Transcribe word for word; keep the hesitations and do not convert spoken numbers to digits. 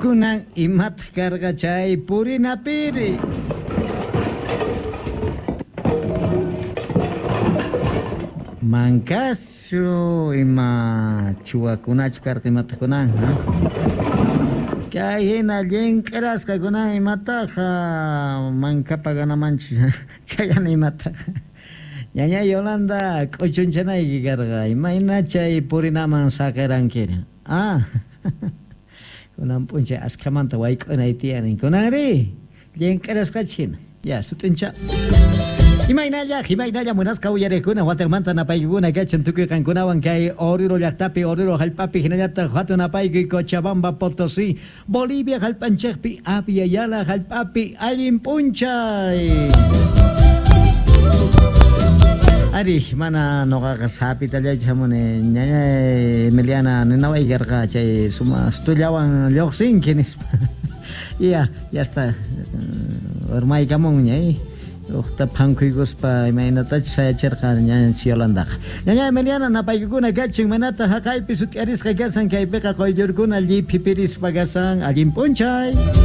Kunan imataq karqa chay purinapiri? Mankachu ima chuwakunachu karqa imataq kunan, ha? Kay hina llinq'irasqa kunan imataqa mankapa ganamanchu chayana imataqa. Ñaña Yolanda k'uchunchanayki karqa imayna chay purinaman saqirankiri. Ah, kunan p'unchay askhamanta wayk'unay tiyanin kunanri llinq'irasqachi hina. Ya, sut'incha. Imaynalla, imaynalla munasqa uyariqkuna watakmanta napaykuna kachan tukuy qankunawan kay Oruro llaqtapi, Oruro hallp'api hinallataq hatun napaykuy Cochabamba, Potosí, Bolivia hallp'anchikpi, Abya Yala hallp'api allin p'unchay. Ari, mana nuqaqa sapitallachu hamuni ñañay Emiliana ninaway karqa chay sumaq stullawan lluqsinki nispa. Ya, ya está. Urmaykamunña, eh. Uqta phankuykuspa imaynatachus sayachirqa ñaña Yolandaqa. Ñaña Emiliana napaykukuna kachun manata haqaypi sut'iarisqa kasan kaypiqa quyllurkuna lliphipirispa kasan allin p'unchay.